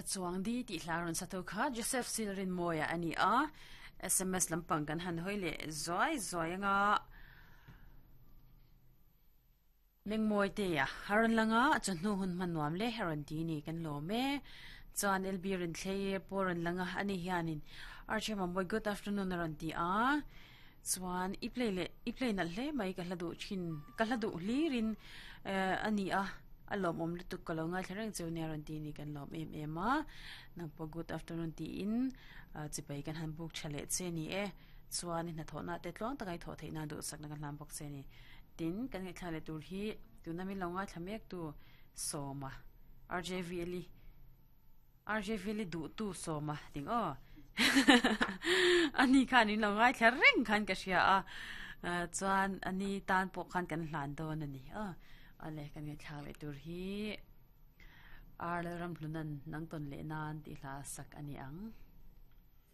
Mitthla chuang di tih hla rawn sa tho kha Joseph Silrinmawia a ni a, sms lampang kan han hawi leh zuai zuai anga Mengmawi te a rawn lang a, chawhnu hun hman nuam le a rawn ti ni kan lawm e. Chuan LB Rinthlei pawh a rawn lang a, ani hianin Archie Mambawi good afternoon a rawn ti a, chuan i play leh i play nalh hle mai ka hla duh thin ka hla duh hlirin eh a ni a, a lawmawm lutuk ka lo ngaithla reng cheu nia rawn ti ni kan lawm em em a, nangpawh good afternoon tiin chipai kan han buk tha leh che ni e. Chuan i hnathawhna te tluang taka i thawh theih nan duhsakna ka hlan bawk che a ni. Tin, kan ngaihthla leh tur hi tuna min lo ngaithla mek tu Sawma, RJVL-i, RJVL-i duhtu Sawma ting aw. Ani khan in lo ngaithla reng khan ka hria a, chuan ani tan pawh khan kan hlan dawn a ni aw. Awle, kan ngaihthla leh tur hi Ar Lalramhlunan nang tawn leh nan tih hla sak a ni ang.